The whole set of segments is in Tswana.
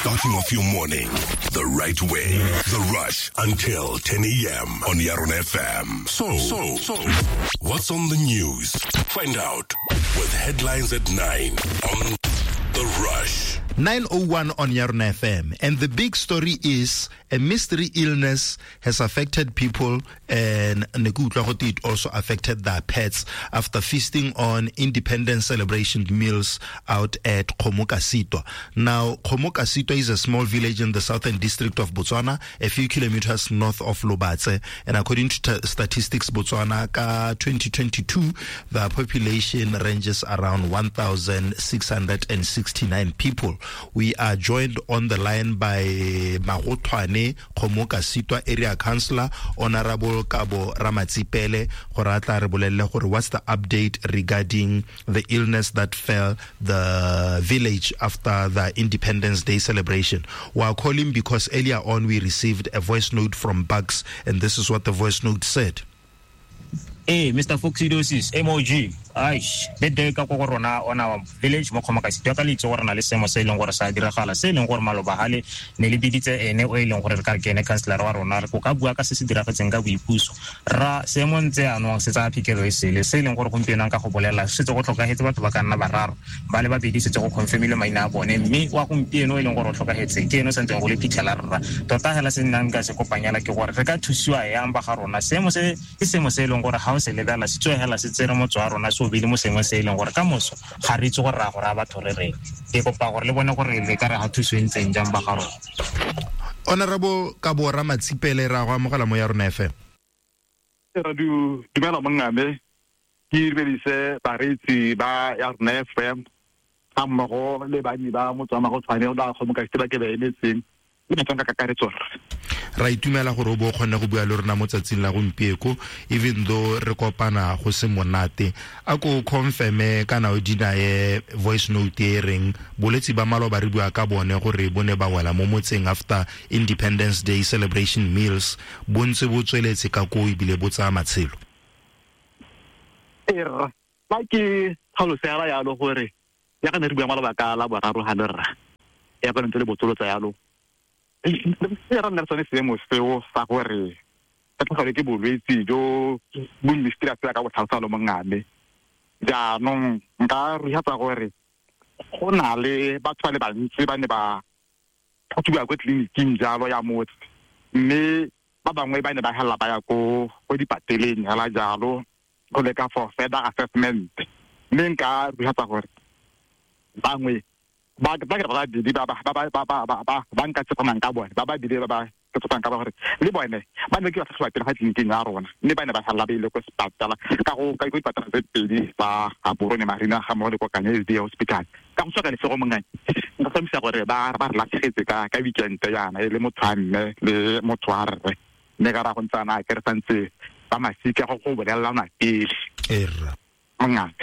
Starting off your morning the right way. The Rush until 10 a.m. on Yarona FM. So, what's on the news? Find out with headlines at 9 on The Rush. 9:01 on Yarona FM. And the big story is a mystery illness has affected people, and ne ke utlwa gote it also affected their pets after feasting on independence celebration meals out at Kgomokasitwa. Now, Kgomokasitwa is a small village in the southern district of Botswana, a few kilometers north of Lobatse. And according to Statistics Botswana, ka 2022, the population ranges around 1,669 people. We are joined on the line by Magothwane Kgomokasitwa Area Councillor, Honorable Kabo Ramatsipele, gore a tla re bolelle gore what's the update regarding the illness that fell the village after the Independence Day celebration. We are calling because earlier on we received a voice note from Bucks, and this is what the voice note said. Hey, Mr. Foxidosis, MOG, aish, le day ka go rona on our village mo Kgomokasitwa ka le itse gore na le seemo se e leng gore sa diragala, se e leng gore maloba gale ne le biditse ene o e leng gore re ka re ke ene councillor wa rona, re ko ka bua ka se se diragetseng ka boipuso. Ra seemo ntse jaanong se tsaya phikelo e sele, se e leng gore gompieno nka go bolela setse go tlhokagetse batho ba ka nna bararo, ba le babedi setse go confirmile maina a bone, mme wa gompieno e leng gore o tlhokagetse ke ene o santseng go le phitlhela rra. Tota hela se nnang ka se kopanyela ke gore re ka thusiwa yang ba ga rona. Seemo se ke seemo se e leng gore ga o se lebela se tswegela se tsere motse wa rona se o bile mo sengwe se e leng gore ka moso ga re itse gore ra go raya batho re reng. Ke kopa gore le bone gore le ka re ga thuso e ntseng jang ba ga rona. Honorable Kabo Ramatsipele, ra go amogela mo ya rona FM. Ra dumela mongame, ke dumedise bareetsi ba ya rona FM ga mmogo le banni ba motse wa Magothwane ba Kgomokasitwa ba ke ba emetseng le batswana ka kakaretso. Ra itumela gore o bo o kgonne go bua le rona mo tsatsing la gompieko, even though re kopana go se monate. A ko confirme kana o dinaye voice note e reng bolwetse ba maloba re bua ka bone gore bo ne ba wela mo motseng after Independence Day celebration meals, bo ntse bo tsweletse ka koo ebile bo tsaya matshelo. Ee, rra, fa ke tlhaloso ya yalo gore ya ka ne re bua maloba ka la boraro ga le rra, ya ka ntse le botsolotsa yalo. E ra nna le sone seemo seo sa gore re tlhogelwe ke bolwetse jo bo mystery a ka botlhalosa lo mongame. Jaanong nka ruhatsa gore go na le batho ba le bantsi ba ne ba tlhatlhobiwa ko tleliniking jalo ya motse, mme ba bangwe ba ne ba helela ba ya ko dipateleng hela jalo go leka for further assessment. Mme nka ruhatsa gore bangwe ba ba ke ba babedi ba ba ba ba ba ba ba ba nka tshepanang ka bone, ba babedi ba ba ke tshepang ka ba gore le bone ba ne ke ba tlhatlhoba pele ga tleliniking ya rona, mme ba ne ba sala ba ile ko sepatala ka go ka ko dipatala tse pedi tsa Gaborone Marina ga mmogo le ko Kanye SDA Hospital. Ka go tswa ka lesego mongane, nka tlhomamisa gore ba re latlhegetse ka weekend yana e le motho wa mme le motho wa rre, mme ka ra go ntse ana ke re santse ba masika go bolelelana pele. Erra. Mongane.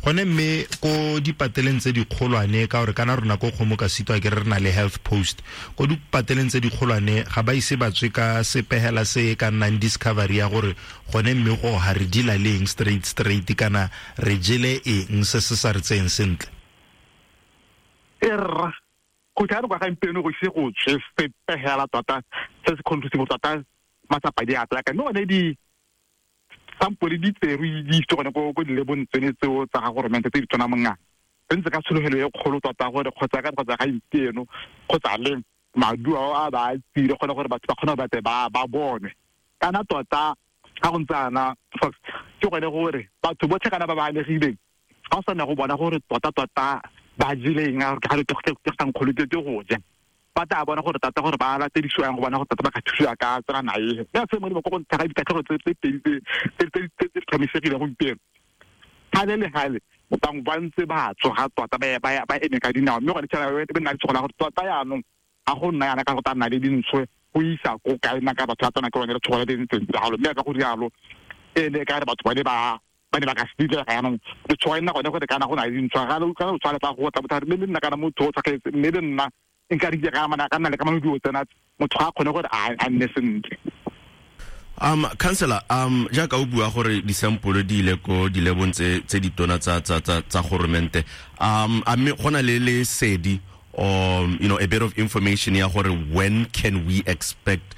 Gone mme ko dipateleng tse dikgolwane, ka gore kana rona ko Kgomokasitwa ke re re na le health post, ko dipateleng tse dikgolwane ga ba ise ba tswe ka sepegela se e ka nnang discovery ya gore gone mme go ga re dila le eng straight straight kana re jele eng se se sa re tseyeng sentle. Erra, go tla re kwa gampieno go ise go tswe sepegela tota se se conclusive tota matsapa di a tla ka mme gone di sample di tserwe di itse gone ko dilebong tsone tseo tsa ga goromente tse di tshwana mongana. Re ntse ka tshologelo e kgolo tota gore kgotsa ka kgotsa ga itieno kgotsa leng maduo ao a ba a tsile gone gore batho ba kgone go batle ba bone. Kana tota ga go ntse ana Fox, ke gone gore batho botlhe kana ba ba amegileng ga o sa nna go bona gore tota tota ba jele eng, a re ke ga nkgolo ke go ja. Ba tla bona gore tota gore ba latedisiwa yang go bona gore tota ba ka thusiwa ka tsela na e. Mme a se molemo ko go ntlha ga ditatlhego tse pedi tse di tlhomamisegileng gompieno. Gale le gale, bangwe ba ntse ba tsoga tota ba eme ka dinao, mme gone tšhaba e nna le tshogo la gore tota jaanong ga go nna yana ka go tla nna le dintsho go isa ko kae nna ka batho ba tsena ke bone letshogo le le ntseng jalo. Mme ka go rialo e ne ka re batho ba ne ba ba ne ba ka se dira ga jaanong letshogo e nna gone gore kana go na le dintsho, ga le kana o tshware fa go tla bothari, mme le nna kana motho o tshwagetse, mme le nna nka re ke ga mana ka nna le ka mano dilo tsena motho ga a kgone gore a nne sentle. Councillor, jaaka o bua gore disampole di ile ko dilebong tse ditona tsa goromente, a mme go na le lesedi Or a bit of information ya gore when can we expect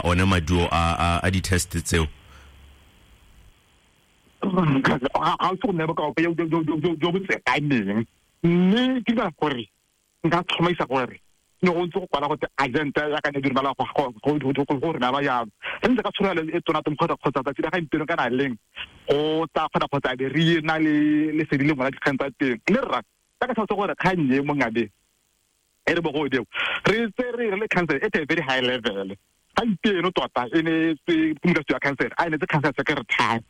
one maduo a di-test tseo? Ga o se go nne bokao jo bo tsekaneng, mme ke dira gore nka tlhomaisa gore ne go ntse go kwala gote agent ya ka ne di romela go rena jalo. Re ntse ka tsholelo e tona teng kgotsa tsatsi la gompieno kana leng go tla kgona kgotsa be re na le lesedi le ngwana dikgang tsa teng. Mme rra ka ka tlhalosa gore kgang e mongabe e re bogodimo re tse re le council at a very high level gompieno tota e ne tse modulasetilo wa council a e netse council secretary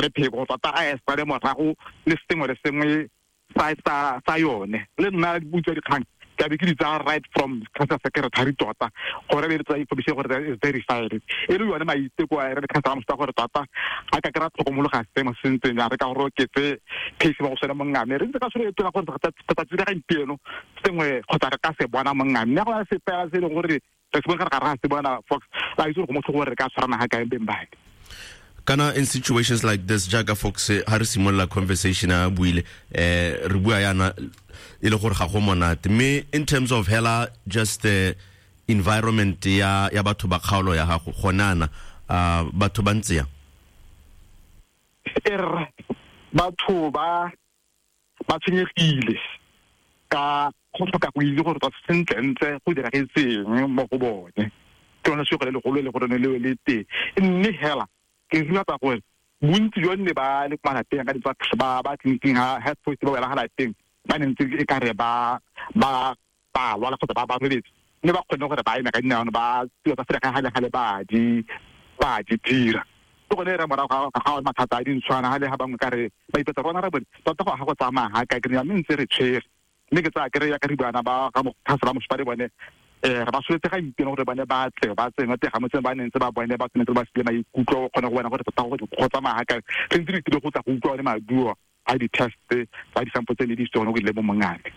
re pheko tota a e sale morago le sengwe le sengwe sa yone. Le nna butsa dikgang ke a be ke di tsaya right from council secretary tota gore be re tsaya information gore is verified. E le yone maiteko a re le council mosta gore tota ga ka kry-a tlhokomologa seemo se ntseng jang, re ka gore oketse case ba go sone mongame. Re ntse ka tsholo e tona gore tsatsi la gompieno sengwe kgotsa re ka se bona mongame, mme go na le sepela se e leng gore re se bone gare ga re se bona Fox la itse gore go motlho gore re ka tshwarana ga kae beng bake. Kana in situations like this, jaaka Fox ha re simolola conversation a buile, re bua yana e le gore ga go monate, mme in terms of hela just the environment ya batho ba kgaolo ya gago gonana, batho ba ntse yang? Batho ba tshwenyegile ka go tlhoka go itse gore tota sentlentle go diragetseng mo go bone. Ke lone sego le legolo le gore ne le teng, mme hela ke rata gore bontsi jwa nne ba le kwa malapeng ka ditsa ba tleliniking ha health post ba wela ga lapeng ba ne ntse e ka re ba lwala kgotsa ba robetse, mme ba kgone gore ba eme ka dinao ba tiro tsa selegae ga le ba di dira. Ke gone re morago ga mathata a dintshwana ga le ga bangwe ka re ba ipetsa rona ra bone tota go ga go tsamaya ga ka kry-a, mme ntse re tshwere. Mme ke tsaya kry-a ka re buana ba ga mokhansela mosupare bone re ba soletse ga ipena gore bone ba tle ba tsengwe teng ga motseng ba neng tse ba bone ba tshwanetse ba sile maikutlo go kgona go bona gore tota go tsamaya ga kae. Re ntse re tlile go tla go utlwa one maduo a di-test tsa di-sample tse ne di isitswe gone go ile mo mongame.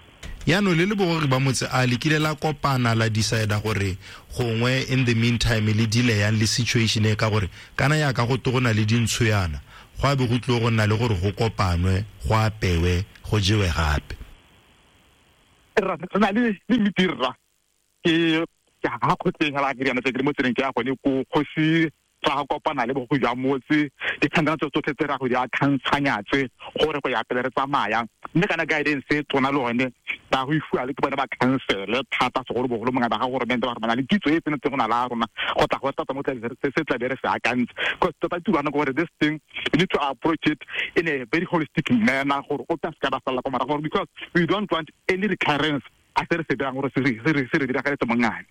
Yaanong le le bogogi ba motse a le kile la kopana la decide gore gongwe in the meantime le deal yang le situation e, ka gore kana yaka go te go na le dintsho yana go a be go tlile go nna le gore go kopanwe go apewe go jewe gape. Re na le meeting rra ke ga kgotleng ga la ke riana tse ke le mo tseleng ke ya gone ko kgosi ra go kopana le bogogi jwa motse dikgang tse tsotlhe tse ra go di akantshanya tse gore go ya pele re tsamayang. Mme kana guidance e tona le one ba go ifuwa le ke bone ba council thata segolobogolo mongwe ba ga goromente ba gore ba na le kitso e tsenetseng go na la rona go tla go tata mo se tla be re se akantse. Because tota turana gore this thing we need to approach it in a very holistic manner gore o tla se ka ba salla kwa morago, because we don't want any recurrence a se re se dirang gore se re diragaletse mongane.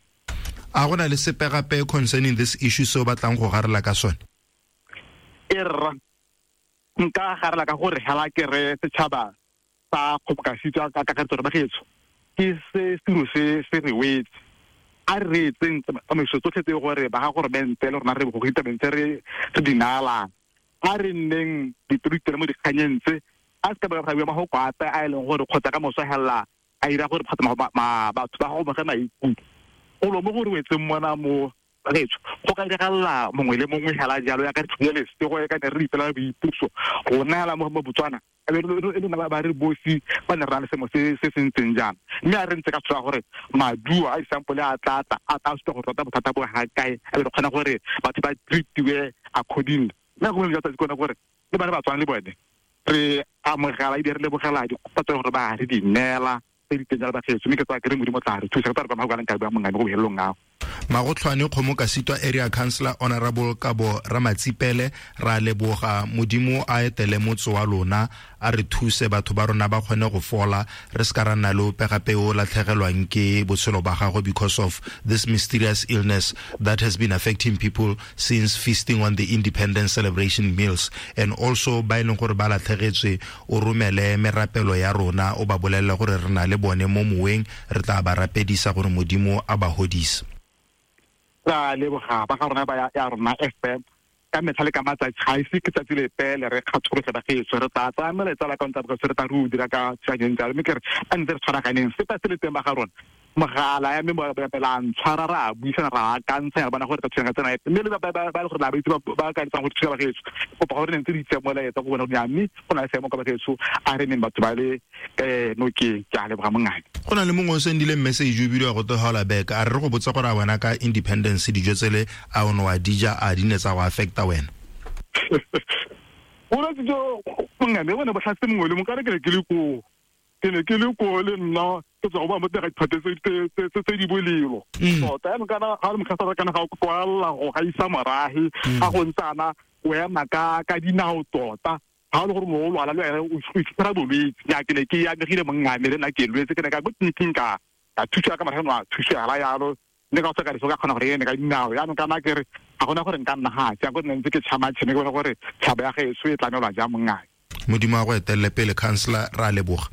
A go na le sepe gape concerning this issue se o batlang go garela ka sone? E rra nka garela ka gore hela ke re setšhaba sa kgobokasitso ka kakaretso gore bagetso ke se selo se se re wetse a re etseng tsamaiso tsotlhe tse gore ba ga goromente le rona re bogogi tabeng tse re di naalang, a re nneng dipelo mo dikganyeng tse a se ka ba ga bua magoko ape a e leng gore kgotsa ka moso hela a ira gore kgotsa batho ba go moge maikutlo golo mo go re wetseng mona mo bagetso go ka diragalla mongwe le mongwe hela jalo ya ka re tlhole lesego e ka ne re ipela boipuso go neela mo Botswana e le ba re bosi ba ne re na le semo se se ntseng jang. Mme a re ntse ka tshola gore maduo a disampole a tla supa gore tota bothata bo ga kae, a be re kgona gore batho ba treatiwe accordingly. Mme go jwa tsatsi kone gore le bana ba tswana le bone re amogela ebile re lebogela dikgopa tse gore ba re di neela tse di teng jalo bagetso, mme ke tsaya ke re Modimo tla re thusa ke tla re kwa magokanang ka bua mongame go bohelelong ao. Magotlhwane Kgomokasitwa Area Councillor Honorable Kabo Ramatsipele, ra leboga Modimo a etele motse wa lona a re thuse batho ba rona ba kgone go fola, re se ka ra nna le ope gape o latlhegelwang ke botshelo ba gagwe because of this mysterious illness that has been affecting people since feasting on the independence celebration meals. And also ba e leng gore ba latlhegetswe o romele merapelo ya rona o ba bolelle gore re na le bone mo moweng, re tla ba rapedisa gore Modimo a ba hodise. Ra leboga ba ga rona ba ya rona FM ka metlha le ka matsatsi ga ise ke tsatsi lepe le re kgathologe bagetso re tla tsaya melaetsa la kaonta re tla re o dira ka tshwanyeng jalo, mme ke re a ntse re tshwaraganeng sepe se le teng ba ga rona Mogala ya mme ba ntshwara ra buisana ra akantsha ya bona gore ka thusang ka tsena mme le ba ba le gore la ba itse ba ka itsang go thusa bagetso kopa gore ne ntse di itse molaetsa go bona gore mme go na le seemo ka bagetso a re neng batho ba le nokeng. Ke a leboga mongane. Go na le mongwe o sendile message o bidiwa go togola back a re go botsa gore a wena ka independence dijo tsele a o ne wa dija a di ne tsa go affecta wena? Bolwetse jo mongane bone bo tlhase mongwe le mongwe ka re ke ne ke le koo. Ke ne ke le koo le nna ke tswa go ba mo teng ga diphate tse di bolelo. Tota jaanong kana ga le mokgasa kana ga o kwalela go gaisa morahe ga go ntsana o ema ka dinao tota ga o le gore mo o lwala le wena o itshwara bolwetse. Nya ke ne ke amegile mongame le nna ke lwetse ke ne ka ko tleliniking ka thusiwa ka marageno a thusiwa yalo ne ka tswa ka diso ka kgona gore ene ka dinao. Jaanong kana ke re ga gona gore nka nna ga jang ko nne ntse ke tšhama tšhene ke bona gore tšhaba ya gaetsho e tlamelwa jang mongame. Modimo a go etelele pele councillor, ra leboga.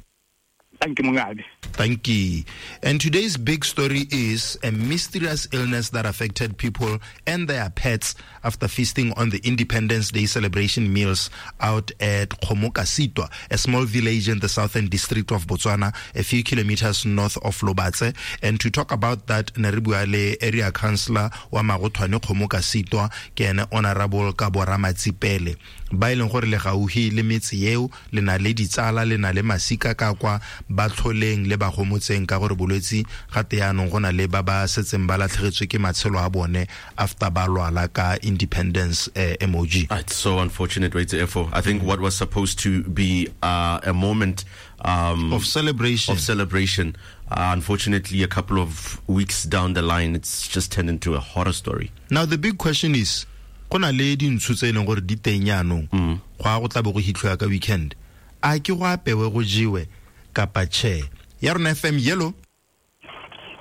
Thank you, Mungabi. Thank you. And today's big story is a mysterious illness that affected people and their pets after feasting on the Independence Day celebration meals out at Kgomokasitwa, a small village in the southern district of Botswana, a few kilometers north of Lobatse. And to talk about that, Neribuale area councillor wa Magothwane Kgomokasitwa ke ene Honorable Kabo Ramatsipele. Ba e leng gore le gauhi le metse eo, le na le ditsala, le na le masika ka kwa ba tlholeng le ba gomotseng ka gore bolwetsi gate yaanong go na le ba ba setseng ba latlhegetswe ke matshelo a bone after ba lwala ka independence MOG. It's so unfortunate, right, Efo. I think what was supposed to be a moment of celebration, unfortunately, a couple of weeks down the line, it's just turned into a horror story. Now, the big question is, go na le dintsho tse e leng gore di teng yaanong go a go tla bo go hitlhiwa ka weekend, a ke go apewe go jewe kapa che? Ya rona FM yellow.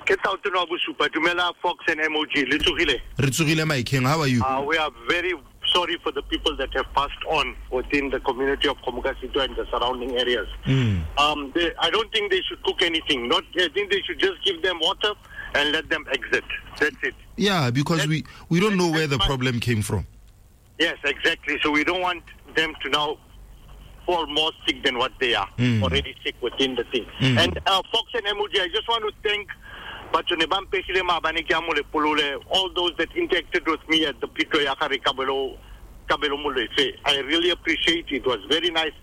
Ke Tautona wa bosupa. Dumela Fox and MOG. Le tsogile? Re tsogile, my king. How are you? We are very sorry for the people that have passed on within the community of Kgomokasitwa and the surrounding areas. I don't think they should cook anything. I think they should just give them water and let them exit. That's it. Yeah, because we don't know where the problem came from. Yes, exactly. So we don't want them to now fall more sick than what they are already sick within the thing. And Fox and MOG, I just want to thank all those that interacted with me at the Pito Yakari Kabelo Molefe. I really appreciate it. It was very nice.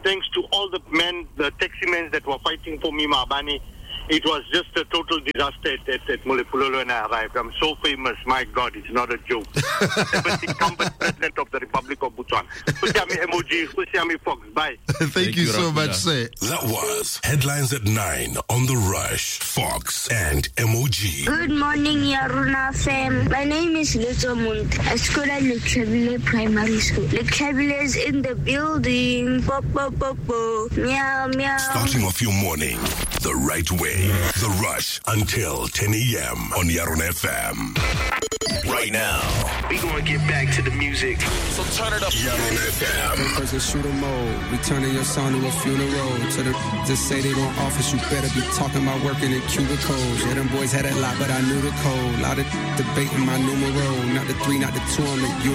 Thanks to all the men, the taxi men that were fighting for me, Maabane. It was just a total disaster at Molepolole when I arrived. I'm so famous. My God, it's not a joke. The incumbent president of the Republic of Botswana. Usiami MOG, Usiami Fox. Bye. Thank you so much, sir. That was Headlines at 9 on The Rush, Fox and MOG. Good morning, Yarona fam. My name is Lutso Munt. I school at Letlhabile Primary School. Letlhabile is in the building. Bo, bo, bo, bo. Meow, meow. Starting off your morning the right way. The Rush until 10 a.m. on Yarona FM. Right now, we gonna get back to the music. So turn it up. Yarona FM. First, let's shoot 'em mode. We turning your son to a funeral. To the just say they want office, you better be talking about working in cubicles. Yeah, them boys had a lot, but I knew the code. Lot of debating my numero. Not the 3, not the 2, I'm the U.